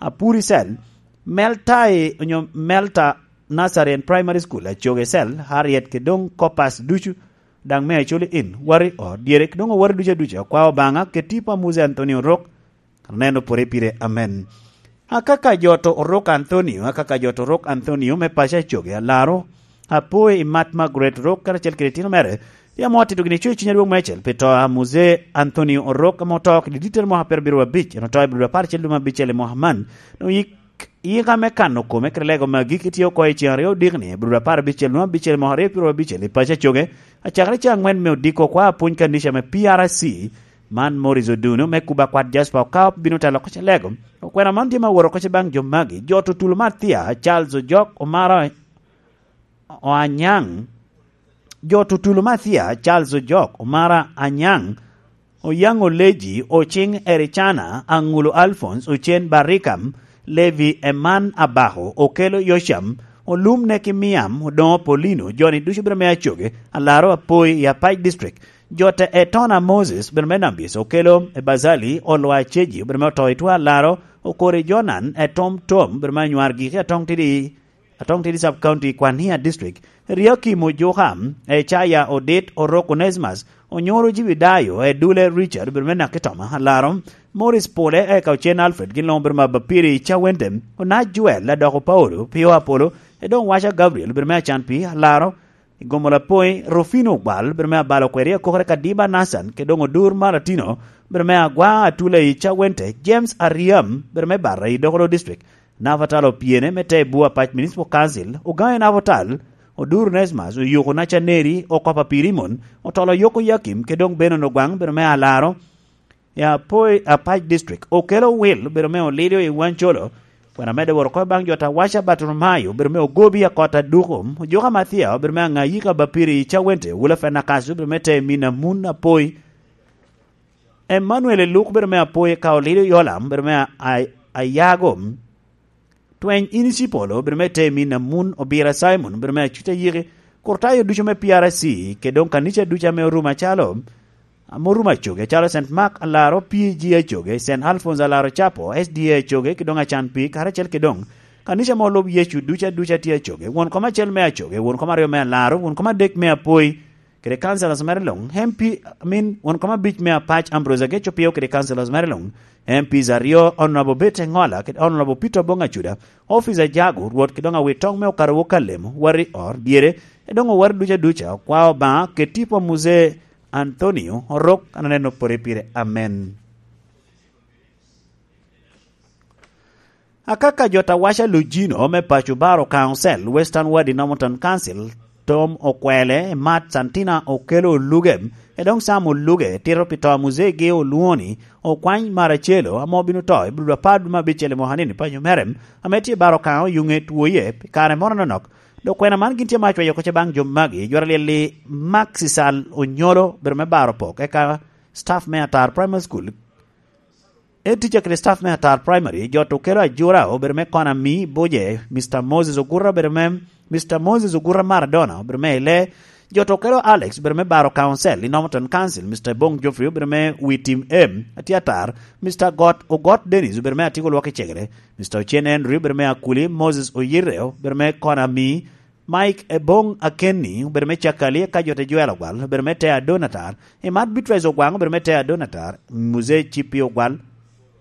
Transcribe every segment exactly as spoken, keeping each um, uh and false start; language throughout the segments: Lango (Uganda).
Apuri Cell, Meltai onyo Melta Nazarene Primary School, Achoge Cell, Harriet, ke doŋ Kopas ducu, daŋ me Acholi in, Wari o, dyere ke doŋ owari ducu aduca, kwa Obaŋa, ke tipo a Musa Anthony Orok, aneno pore pire, amen. Akaka jo to Orok Anthony, akaka jo to Orok Anthony me paco Achoge, alaro, apoyo i mat Margaret Orok, karacel kede itino mere, ya mo atito gini coc i cuny adwoŋ mecel, pi to a Musa Anthony Orok, ame oto kede dittere mwaka pyerabiro abic, en oto i biro apar acel dwe me abicel i mwaka man, doŋ yik, yika me kano kome kede lego magi kitye oko i cen aryo odikni, i biro apar abicel dwe me abicel mwaka aryo pyerabicel i paco Achoge, acakere ca aŋwen me odiko kwa apwony kanica me P R C, man Morris Oduno, me kuba kwat Jasper Okao bino telo oko ca lego. Okwena man tye ma woro oko ca baŋ jo magi, jo tutulo Mathia, Charles Ojok, Omara Oanyaŋ, jo tutulo Mathia, Charles Ojok, Omara Anyaŋ, Oyaŋ Oleji, Ociŋ Ericana, Aŋulo Alphonse, Ocen Barikam, Levi Eman Abako, Okelo Yocam, Olum Neki Miam, Odoŋo Polino, joni ducu bino me Achoge, alaro apoyi i Apac District. Jo te Etona Moses, bino me Nambis, Okelo Ebazali, Olwa Ceji, bino me oto i two alaro, Okori Jonan, Etom Tom, bino me anywar giki atoŋ tidi, atoŋ tidi Sub County, Kwania District. Riakim Ojuka, Ecaya Odit, Orok Onesmus, Onyoro Jibidayo, Edule Richard, bino me Nakitoma, alaro, Morris Pole, eka Ocen Alfred, gin luŋ bino me Abapiri i Cawente, Onac Joel, Adoko Paulo, Pio Apolo, Edoŋ Waca Gabriel, bino me Acan Pi, alaro, Igomo Lapoi, Rufino Ogwal, bino me Abalo Kweri, Akokere Kadiba Nathan, ke doŋ Odur Malatino, bino me Agwa Atula i Cawente, James Ariam, bino me Barra i Dokolo District, Navatal Opiene, me te Bua Pac Municipal Council, Ogaŋe Navatal, Odur Nesmas, Oyuko Nacaneri, Okopa Pirimon, Otolo Yoko Yakim, ke doŋ Benon Ogwaŋ, bino me Alaro, i Apoi, Apac District, Okelo Wil, bino me Olilio i Wancolo, kwena medde woro oko baŋ jo Tawaca Baturumayo, bino me Ogobi Akot Aduko, Ojuka Mathia, bino me Aŋayika Bapiri i Cawente, Wula Fenakaso, bino me te Mina Mun Apoi, Emmanuel Eluk, bino me Apoi, ka Olilio Yolam, bino me A-, A-, Ayago, Tweny in icipolo, bino me te Mina Mun, Obira Simon, bino me Acuta Yiki, Kurtayo ducu me P R C, ke doŋ kanica ducu ame orumo acalo, ame orumo Achoge, acalo Saint Mark Alaro, P G Achoge, Saint Alphonse Alaro Chapo, S D A Achoge, ke doŋ Acan Pi, karacel ke doŋ kanica ame olub Yecu ducu aduca tye Achoge, won kom acel me Achoge, won kom aryo me Alaro, won kom adek me Apoi, kede councillors mere luŋ, M P, I mean, won kom abic me Apac Ambrose Ageco Pio kede councillors mere luŋ, M Ps aryo, Honorable Bete Ŋola kede Honorable Peter Bong Acuda, Officer Jago, Rwot kede doŋ awitoŋ me Okaro Wokalemo, Wari Or, dyere, e doŋ owar duca duca, kwa Obaŋa, kede tipo a Muse Anthonio, Orok, an aneno pore pire. Amen. Akaka jo Tawaca Lujino me paco Baro Council, Western Ward i Normanton Council, Tom Okwele, Mat Santina Okelo Oluge, e doŋ Sam Oluge, tito pi to a Muzegi Olwoni, Okwany Maracelo, ame obino to i bulu apar dwe me abicel i mwaka ni i paco mere, ame tye Baro Kaŋo yuŋe twoye pi kare moro anonok. Dok kwena man gin tye ma acweyo oko ce baŋ jo magi, jwara lyel-li Max Isal Onyolo, bedo me Baro Pok, eka staff me Atar Primary School, Head teacher kede staff me Atar Primary, jo to kelo Ajura, obedo me Konami Buje, Mister Moses Ogura, obedo me, Mister Moses Ogura Maradona, obedo me Ile, jo to kelo Alex, obedo me Baro Council, i Normanton Council, Mister Bong Geoffrey, obedo me Wi Tim M, Atiatar, Mister Got, Ogot Dennis, obedo me Atiko Lwak i Cegere, Mister Ochen Henry, obedo me Akuli, Moses Oyireo, obedo me Konami, Mike Ebong Akenni obedo me Cakali, eka jo te Joel Ogwal obedo me Tea Donatar, Imat Beatrice Ogwaŋ obedo me Tea Donatar, Muzee Cippi Ogwal,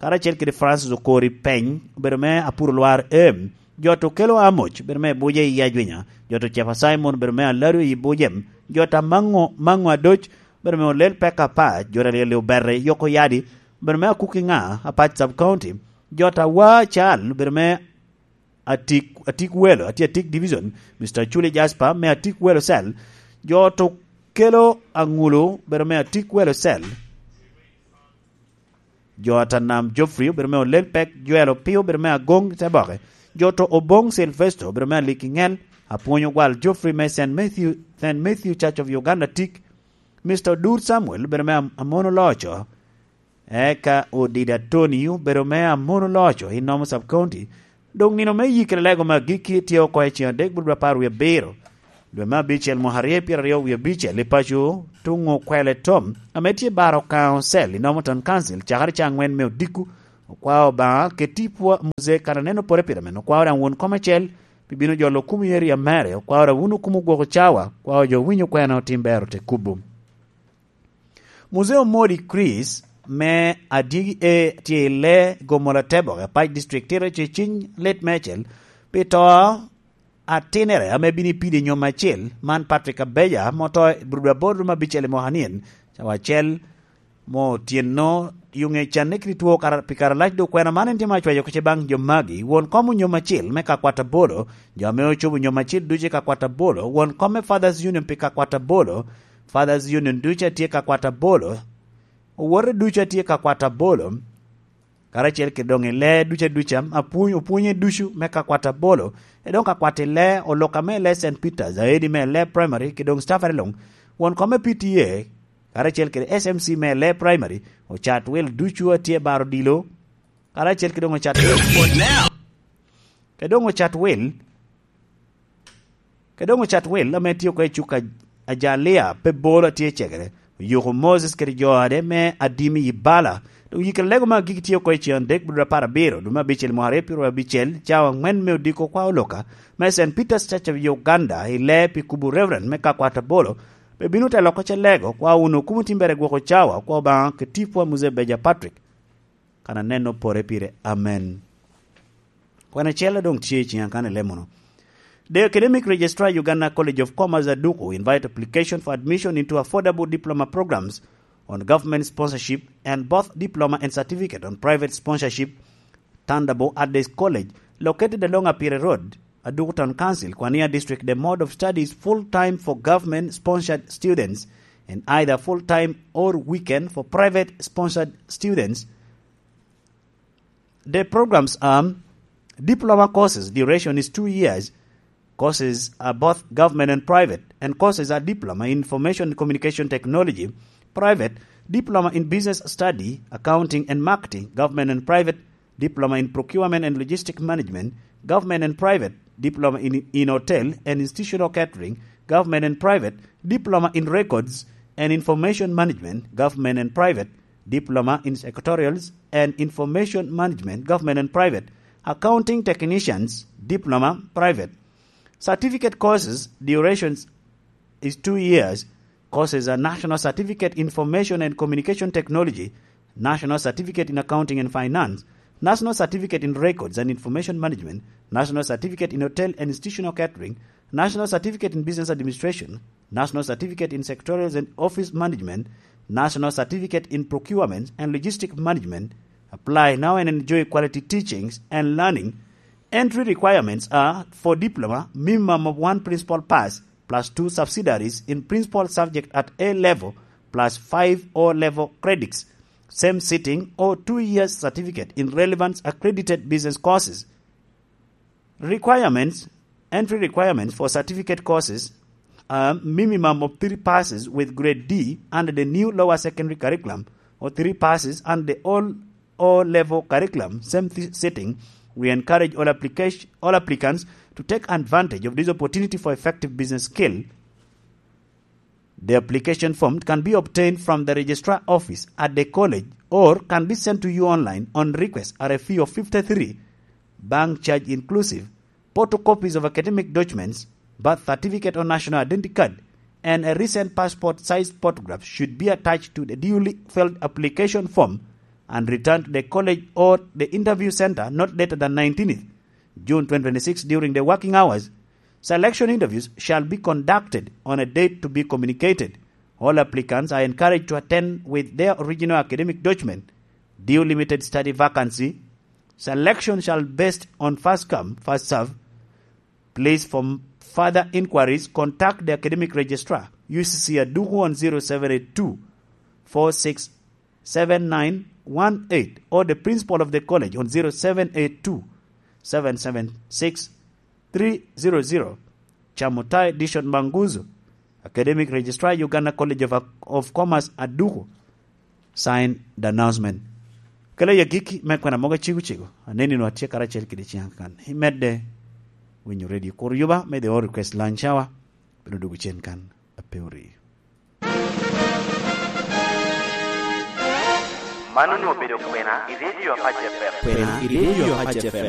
karacel kede Francis Okori Peny obedo me Apuro Lwar Em, jo to kelo Amoc obedo me Buje i Ajwinya, jo to Cepa Simon obedo me Alado i Bujem, jo ta Maŋo, Maŋo Adoc obedo me Olel Peka Apac, jo ta Lyel Obere Yoko Yadi obedo me Akuki Ŋa Apac Sub County, jo ta Wa Cal obedo me Atik, Atik Welo, atye Atik Division, Mister Chuli Jasper, me Atik Welo Cell, jo to kelo Aŋulu, bedo me Atik Welo Cell, jo Atanam Geoffrey, bedo me Olel Pek, Joel Opio, bedo me Agong Teboke, jo to Obong Sylvester, bedo me Aliki Ŋel, Apwony Ogwal Geoffrey me Saint Matthew, Saint Matthew Church of Uganda Tik, Mister Odur Samuel, bedo me Am-, Amono Loco, Eka Odida Tony obedo me Amono Loco i Nomo Sub County. Doŋ nino me yikere lego me agikki tye oko i ceŋ adek bot apar wie abiro, dwe me abicel mwaka aryo pyeraryo wie abicel i paco tuŋ Okwele Tom, ame tye Baro Council i Normanton Council, cakere ca aŋwen me odiko, Okwao Obaŋa, keti pwa Muzee kan aneno pore pire men. Okwao daŋ won kom acel pi bino jolo kum i area mere. Okwao daŋ wun okumo gwoko cawa, okwao jo winyo kwena otim bero te kubo. Muzee Omodi Chris me Adyegi A tye i le Gomola Teboke, Apac District, tito ce ciny lit meicel pi to atinere ame bino i pidi nyom acel, man Patrick Abeja, moto i brudo aboro ma bicel i mwaka nien, cawa acel mo otyeno, yuŋe canne kede two kara-, pi kare alac. Dok kwena man en tye ma acwayo oko ce baŋ jo magi: won kom onyom acel me ka kwat abolo, jo ame ocobo nyom acel ducu i ka kwat abolo, won kom me Fathers Union pi ka kwat abolo, Fathers Union ducu a tye ka kwat abolo, owote ducu a tye ka kwat abolo, karacel kede doŋ i lee ducu aduca, apwony, opwonye ducu me ka kwat abolo, e doŋ ka kwat i lee, oloka me lee Saint Peters, aedi me lee Primary, kede doŋ staff are luŋ, won kom me P T A, karacel kede S M C me lee Primary, ocat wil ducu a tye baro dilo, karacel kede doŋ ocat wil. Kede doŋ ocat wil, kede doŋ ocat wil ame tye oko i cuk a, Ajalia, pe bolo a tye cegere. Oyuko Moses kede jo ade me Adimi i Bala. Doŋ yikere lego me agiki tye oko i cen adek, brudo apar abiro, dwe me abicel, mwaka aryo pyeraryo abicel, cawa aŋwen me odiko kwa oloka, me Saint Peter's Church of Uganda, i lee pi kubo Reverend me ka kwat abolo, pe bino te loko ce lego, kwa wun okumo timbere gwoko cawa, kwa Obaŋa keti pwa Muzee Beja Patrick. Kan aneno pore pire. Amen. Kwan acel doŋ tye i ciŋa kan ilemono. The Academic Registrar, Uganda College of Commerce, Aduku, invite application for admission into affordable diploma programs on government sponsorship and both diploma and certificate on private sponsorship, Tandabo at the college located along Apire Road, Aduku Town Council, Kwania District. The mode of study is full-time for government-sponsored students and either full-time or weekend for private-sponsored students. The programs are diploma courses, duration is two years. Courses are both government and private, and courses are diploma in information and communication technology, private, diploma in business study, accounting and marketing, government and private, diploma in procurement and logistic management, government and private, diploma in, in hotel and institutional catering, government and private, diploma in records and information management, government and private, diploma in secretarials and information management, government and private, accounting technicians, diploma, private. Certificate courses, durations is two years. Courses are National Certificate Information and Communication Technology, National Certificate in Accounting and Finance, National Certificate in Records and Information Management, National Certificate in Hotel and Institutional Catering, National Certificate in Business Administration, National Certificate in Secretarials and Office Management, National Certificate in Procurement and Logistic Management. Apply now and enjoy quality teachings and learning. Entry requirements are for diploma, minimum of one principal pass plus two subsidiaries in principal subject at A level plus five O level credits, same sitting or two years certificate in relevant accredited business courses. Requirements, entry requirements for certificate courses are minimum of three passes with grade D under the new lower secondary curriculum or three passes under the old O-level curriculum, same th-, setting. We encourage all application, all applicants to take advantage of this opportunity for effective business skill. The application form can be obtained from the registrar office at the college or can be sent to you online on request at a fee of fifty-three, bank charge inclusive. Photocopies of academic documents, birth certificate or national identity card, and a recent passport-sized photograph should be attached to the duly filled application form and returned to the college or the interview center not later than nineteenth June twenty twenty-six during the working hours. Selection interviews shall be conducted on a date to be communicated. All applicants are encouraged to attend with their original academic document. Due limited study vacancy. Selection shall based on first come, first serve. Please, for further inquiries, contact the academic registrar, U C C Aduku, on zero seven eight two four six seven nine one eight, or the principal of the college on zero seven eight two seven seven six three zero zero. Chamutai Dishon Manguzu, Academic Registrar, Uganda College of, of Commerce, Aduku. Sign the announcement. Kela ya giki me kwena mogo cego cego. Aneni no atye karacel kede ciŋ kan. Imedde winyo radio kur yuba me the all request lunch hour. Bino dugu cen kan. Ape ori. Man onwoŋo obedo kwena i Redio Apac F M. Kwena i Redio Apac F M.